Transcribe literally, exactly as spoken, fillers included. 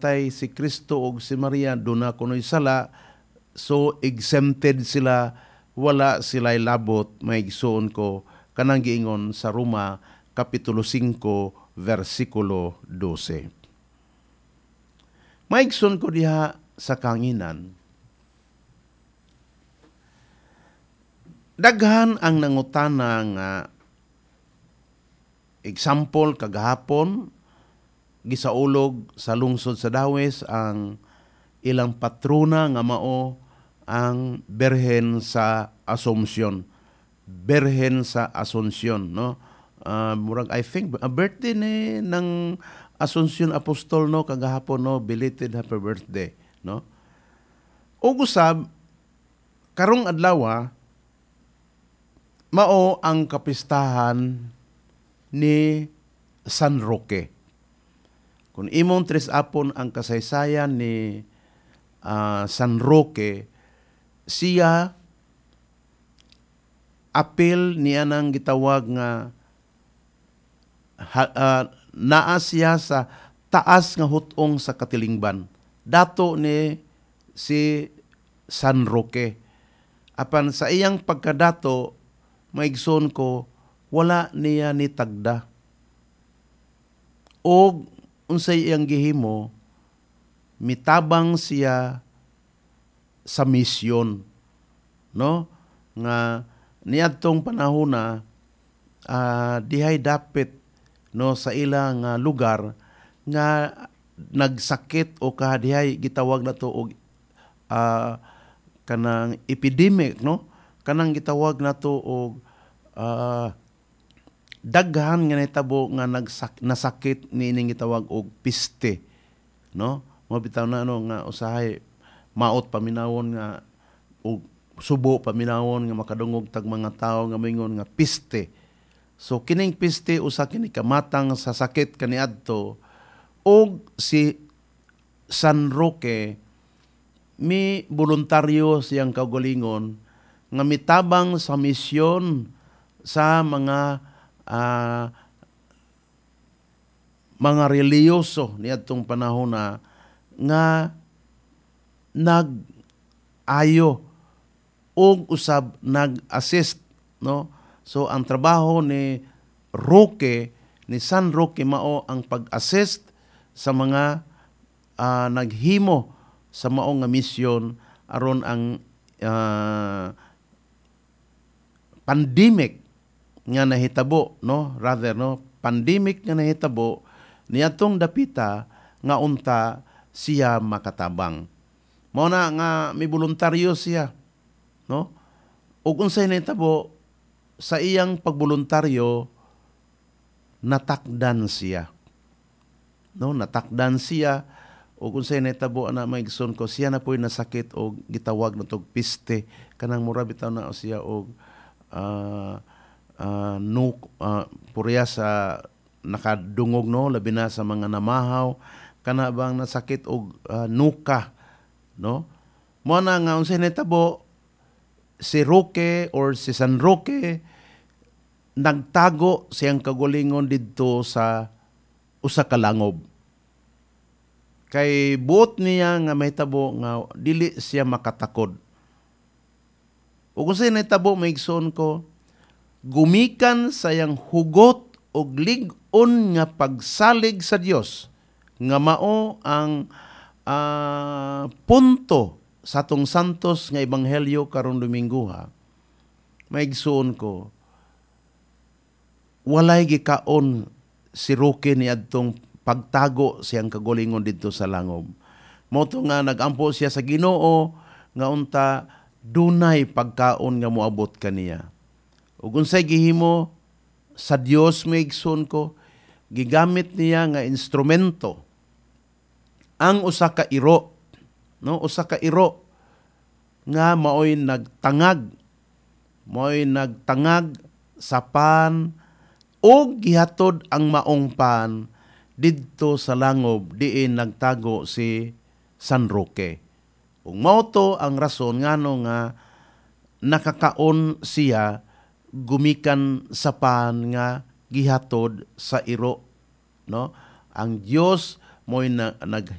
namatay si Kristo ug si Maria, duna kuno'y sala, so exempted sila, wala sila'y labot, maigsoon ko, kanang giingon sa Roma Kapitulo singko versikulo dose. Maigsoon ko diha sa kanginan, daghan ang nangutana nga example kagahapon gisaulog sa lungsod sa Dawes ang ilang patrona nga mao ang Birhen sa Asunsyon. Birhen sa Asunsyon, no? Uh, murag I think a birthday ni ng Asunsyon Apostol, no, kagahapon, no, belated happy birthday, no? Ug usab karong adlaw mao ang kapistahan ni San Roque. Kung imong tres apon ang kasaysayan ni uh, San Roque, siya apil niya nang gitawag nga ha, uh, naa siya sa taas nga hutong sa katilingban. Dato ni si San Roque. Apan sa iyang pagkadato, maigsoon ko, wala niya ni tagda. Og unsay iyang gihimo, mitabang siya sa misyon, no? Nga niadtong panahona uh, dihay dapit, no, sa ilang uh, lugar nga nagsakit o kadihay gitawag na to og uh, kanang epidemic, no? Kanang gitawag na to og uh, daghan nga nahitabo nga nagsak nasakit niining gitawag og peste, no? Mo bitaw na ano nga usahay maot paminawon nga og subo paminawon nga makadungog tag mga tawo nga moingon nga peste. So kining peste usa kini kamatang sa sakit kaniadto, og si San Roque mi voluntaryo siyang kaugalingon nga mitabang sa misyon sa mga uh, mga relihiyoso niadtong panahon na nga nag-ayo og usab nag-assist, no? So ang trabaho ni Roque, ni San Roque, mao ang pag-assist sa mga uh, naghimo sa mao nga misyon aron ang uh, pandemic nga nahitabo, no, rather, no, pandemic nga nahitabo niadtong dapita nga unta siya makatabang. Mao na nga may voluntaryo siya, no? Ug unsay nahitabo sa iyang pagboluntaryo, natakdan siya, no? Natakdan siya. Ug unsay nahitabo ana, maigsoon ko, siya na po'y nasakit og gitawag na tog peste, kanang mura bitaw na siya og uh, uh, no, uh, purya sa nakadungog, no, labi na sa mga namahaw, kana bang nasakit og uh, nuka, no? Mo na nga unsay nahitabo, si Roque or si San Roque nagtago siyang kagulingon didto sa usa ka langob. Kay buot niya nga mahitabo nga dili siya makatakod. Ug unsay nahitabo, maigsoon ko, gumikan sa iyang hugot og lig-on nga pagsalig sa Dios nga mao ang uh, punto sa atong santos nga ebanghelyo karong Domingo ha. Maigsoon ko, walay gikaon si Roque niadtong pagtago siyang kagulingon didto sa langob. Mao to nga nagampo siya sa Ginoo nga unta dunay pagkaon nga moabot kaniya. Ug unsay gihimo sa Dios, maigsoon ko, gigamit niya nga instrumento ang usa ka iro, no, usa ka iro nga maoy nagtangag, maoy nagtangag sa pan ug gihatod ang maong pan didto sa langob diin nagtago si San Roque. Ug mao to ang rason ngano nga nakakaon siya gumikan sa pan nga gihatod sa iro, no? Ang Dios mo'y na, nag